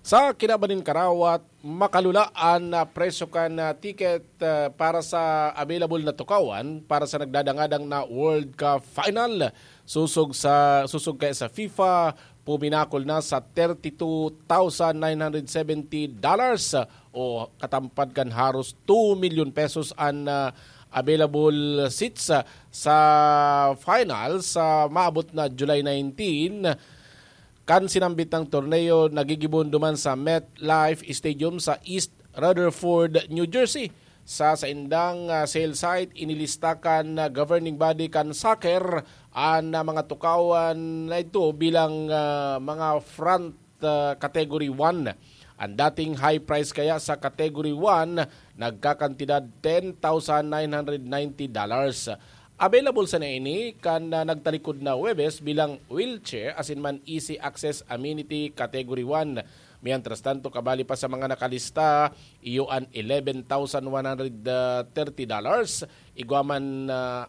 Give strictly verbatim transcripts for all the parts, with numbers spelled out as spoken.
Sa kinaban nin karawat, makalula an, ah, presyo kan, ah, ticket, ah, para sa available na tukawan para sa nagdadangadang na World Cup final. Susog sa, susog kaya sa FIFA, puminakol na sa thirty-two thousand nine hundred seventy dollars o katampad kan haros two million pesos an, ah, available seats, ah, sa finals sa maabot na July nineteen. Kan sinambit ng torneo, nagigibohon duman sa MetLife Stadium sa East Rutherford, New Jersey. Sa saindang, ah, sale site, inilista kan, ah, governing body kan soccer an, ah, mga tukawan na ito bilang, ah, mga front, ah, category one. Ang dating high price kaya sa category one, nagkakantidad ten thousand nine hundred ninety dollars. Available sana ini kan, ah, nagtalikod na Huwebes bilang wheelchair asin man easy access amenity category one. Mientras tanto, kabali pa sa mga nakalista, iyo an eleven thousand one hundred thirty dollars, igwa man, ah,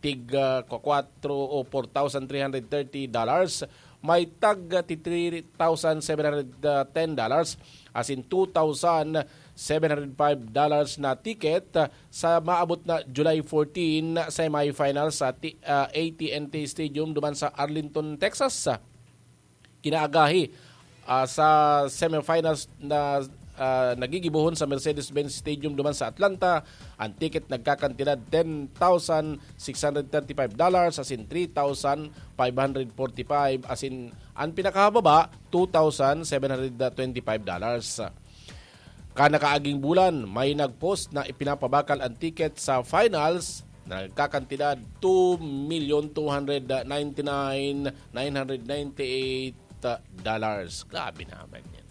tig, ah, kwatro o four thousand three hundred thirty dollars, may tag, ah, ti three thousand seven hundred ten dollars, asin two thousand seven hundred five dollars na ticket, ah, sa maabot na July fourteen na semifinal sa ti-, ah, A T and T Stadium duman sa Arlington, Texas. Kinaagahi, ah, sa semifinals na, ah, nagigibohon sa Mercedes-Benz Stadium duman sa Atlanta, ang ticket nagkakantidad ten thousand six hundred thirty-five dollars, asin three thousand five hundred forty-five, asin ang pinakahababa, two thousand seven hundred twenty-five dollars. Kan nakaaging bulan, may nag-post na ipinapabakal ang ticket sa finals na nagkakantidad two million two hundred ninety-nine nine hundred ninety-eight dollars. Grabe naman yan.